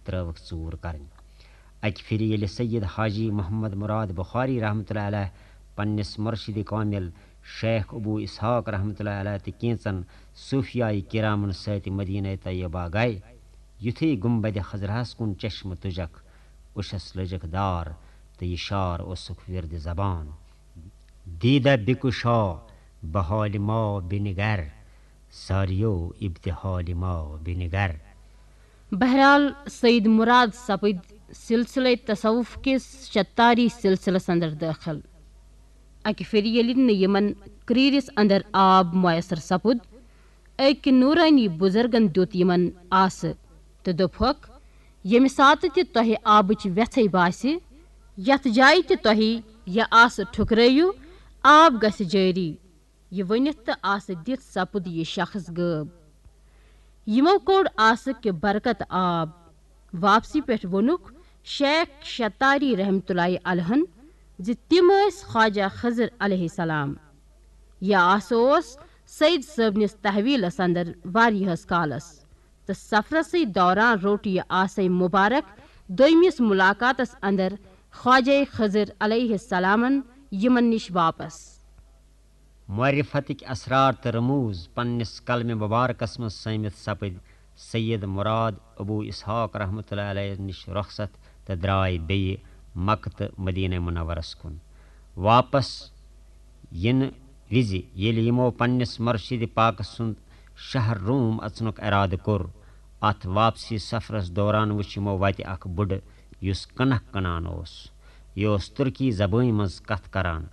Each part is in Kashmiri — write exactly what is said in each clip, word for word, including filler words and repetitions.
ترٲوٕکھ ژوٗر کرٕنۍ۔ اکہِ پھِرِ ییٚلہِ سید حاجی محمد مراد بخاری رحمتہ اللہ علیہ پننِس مرشد کامل شیخ ابو اسحاق رحمتہ اللہ علیہ تہٕ کینٛژن صوفیاے کرامن سۭتۍ مدینہ طیبہ گئے، یُتھُے گنبد خضراہس کُن چشمہٕ تُجکھ، اوٚشس لٔجکھ دار تہٕ یہِ شعر اوسُکھ ورد زبان۔ دیدہ بکشا بحال ما بنگر، ساریو ابتحال ما بنگر۔ بہرحال، سید مراد سپٕدۍ سلسلے تصوف کِس شتاری سلسلس اندر دٲخل۔ اکہِ پھِرِ ییٚلہِ نہٕ یِمن کریٖرِس اندر آب میسر سپُد، أکۍ نورانی بزرگن دیُت یِمن آسہٕ تہٕ دوٚپہکھ، "ییٚمہِ ساتہٕ تہِ تۄہہِ آبٕچ وٮ۪ژھے باسہِ، یتھ جایہِ تہِ تۄہہِ یہِ آسہٕ ٹھُکرٲیِو، آب گژھِ جٲری۔" یہِ ؤنِتھ تہٕ آسہٕ دِتھ سپُد یہِ شخص غٲب۔ یِمو کوٚڑ آسہٕ کہِ برکت آب۔ واپسی پٮ۪ٹھ ووٚنُکھ شیخ شتاری رحمتہ اللہ علیہن زِ تِم ٲسۍ خواجہ خضر علیہ السلام۔ یہِ آسہٕ اوس سید صٲبنِس تحویلس اندر واریاہس کالس، تہٕ سفرسٕے دوران روٚٹ یہِ آسے مبارک دوٚیمِس ملاقاتس اندر خواجہ خضر علیہ السلامن یِمن نِش واپس۔ معرفتٕکۍ اسرار تہٕ رموز پننِس قلمِ مبارکس منٛز سٲمِتھ سپٕدۍ سید مراد ابو اسحاق رحمتہ اللہ علیہ نِش رخصت تہٕ درٛاے بیٚیہِ مکہ تہٕ مدینہ منورس کُن۔ واپس یِنہٕ وِزِ ییٚلہِ یِمو پننِس مرشد پاکس سُنٛد شہر روم اژنُک ارادٕ کوٚر، اتھ واپسی سفرس دوران وُچھ یِمو وتہِ اکھ بُڈٕ یُس کنکھ کٕنان اوس۔ یہِ اوس ترکی زبٲنۍ منٛز کتھ کران۔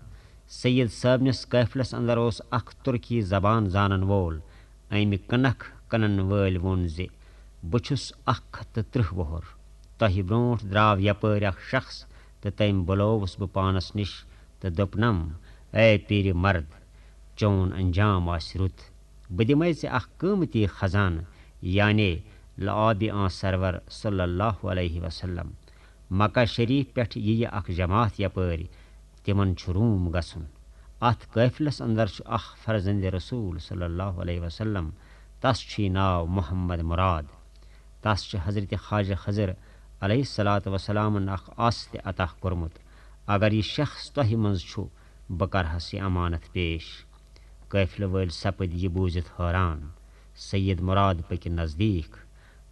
سید صٲبنِس قٲفلس اندر اوس اکھ ترکی زبان زانن وول۔ امہِ کنکھ کٕنن وٲلۍ ووٚن زِ، "بہٕ چھُس اکھ ہتھ تہٕ ترٕٛہ وُہُر۔ تۄہہِ برونٛٹھ درٛاو یپٲرۍ اکھ شخص تہٕ تٔمۍ بُلووُس بہٕ پانس نِش تہٕ دوٚپنم، 'اے پیٖرِ مرد، چون انجام آسہِ رُت۔ بہٕ دِمے ژےٚ اکھ قۭمتی خزانہٕ، یعنی لعابِ آن سرور صلی اللہ علیہ وسلم۔ مکہ شریف پٮ۪ٹھ یِیہِ اکھ جماعت یپٲرۍ، تِمن چھُ روم گژھُن۔ اتھ قٲفلس اندر چھُ اکھ فرزند رسول صلی اللہ علیہ وسلم، تس چھُے ناو محمد مراد۔ تس چھُ حضرت خواجہ خضر علیہ الصلوۃ والسلامن اکھ آسہٕ تہِ عطا کوٚرمُت۔ اگر یہِ شخص تۄہہِ منٛز چھُ، بہٕ کرہس یہِ امانت پیش۔'" قٲفلہٕ وٲلۍ سپٕدۍ یہِ بوٗزِتھ حٲران۔ سید مراد پٔکۍ نزدیٖک۔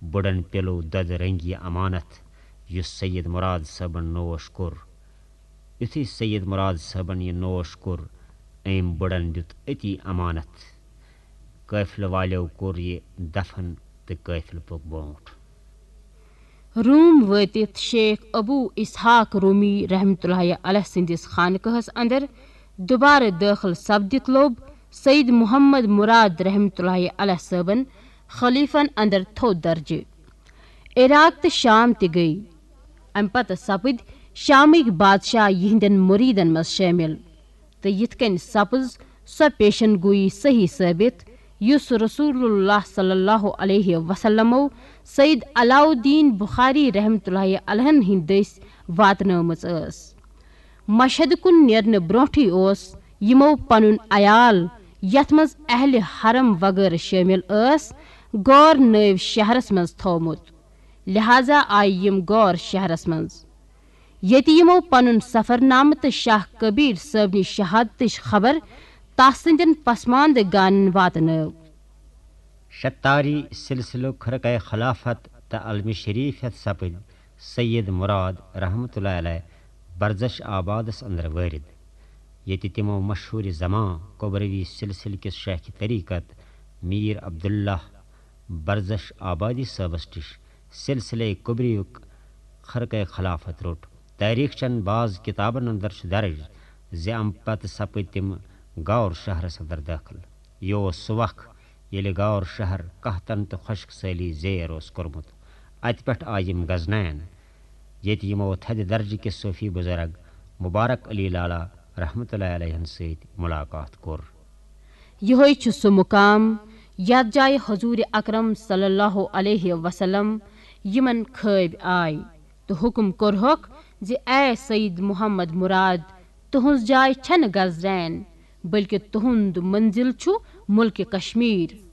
بُڈن پیلو دۄدٕ رنگی امانت، یُس سید مراد صٲبن نوش کوٚر۔ یُتھُے سید مراد صٲبن یہِ نوش کوٚر، أمۍ بُڈن دیُت أتی امانت۔ قٲفلہٕ والیو کوٚر یہِ دفن تہٕ قٲفلہٕ پوٚک برونٛٹھ۔ روم وٲتِتھ شیخ ابو اسحاق رومی رحمتہ اللہ علیہ سٕنٛدِس خانقاہس اندر دوبارٕ دٲخل سپدِتھ لوٚب سید محمد مراد رحمتہ اللہ علیہ صٲبن خلیفن اندر تھوٚد درجہٕ۔ عراق تہٕ شام تہِ گٔے۔ امہِ پتہٕ سپٕدۍ شامٕکۍ بادشاہ یِہنٛدٮ۪ن مُریٖدن منٛز شٲمِل۔ تہٕ یِتھ کٔنۍ سپٕز سۄ پیشن گویی صحیح ثٲبت، یُس رسول اللہ صلی اللہ علیہ وسلمو سید علاؤالدین بخاری رحمتہ اللہ علیہن ہٕنٛدۍ دٔسۍ واتنٲومٕژ ٲس۔ مشہد کُن نیرنہٕ برونٛٹھٕے اوس یِمو پنُن عیال، یتھ منٛز اہلِ حرم وغٲرٕ شٲمِل ٲس، غور نٲوۍ شہرس منٛز تھوومُت۔ لہذا آیہِ یِم غور شہرس منٛز، ییٚتہِ یِمو پنُن سفرنامہٕ تہٕ شاہ کبیر صٲبنہِ شہادتٕچ خبر تس سٕنٛدٮ۪ن پسماندٕ گانن واتنٲو۔ شتاری سلسلُک خرقہ خلافت تہٕ علمِ شریف ہٮ۪تھ سپٕدۍ سید مراد رحمتہ اللہ علیہ برزش آبادس اندر وٲرِد، ییٚتہِ تِمو مشہوٗرِ زمان کبروی سلسلہٕ کِس شیخ طریقت میر عبداللہ برزش آبادی صٲبس نِش سلسلے کبریُک خرقہ خلافت روٚٹ۔ تاریخ چن بعض کتابن اندر چھُ درج زِ امہِ پتہٕ سپٕدۍ تِم غور شہرس اندر دٲخل۔ یہِ اوس سُہ وق ییٚلہِ غور شہر قحطن تہٕ خۄشک سٲلی زیر اوس کوٚرمُت۔ اتہِ پٮ۪ٹھ آیہِ یِم غزنین، ییٚتہِ یِمو تھدِ درجہٕ کِس صوفی بزرگ مبارک علی لالا رحمتہ اللہ علیہن سۭتۍ ملاقات کوٚر۔ یِہوٚے چھُ سُہ مُقام یَتھ جایہِ حضوٗرِ اکرم صلی اللہ علیہ وسلم یِمن خٲبۍ آے تہٕ حُکُم کوٚرہوکھ زِ اے سید محمد مراد، تُہٕنٛز جاے چھَنہٕ گزرین، بلکہِ تُہُنٛد منزل چھُ مُلکہِ کشمیر۔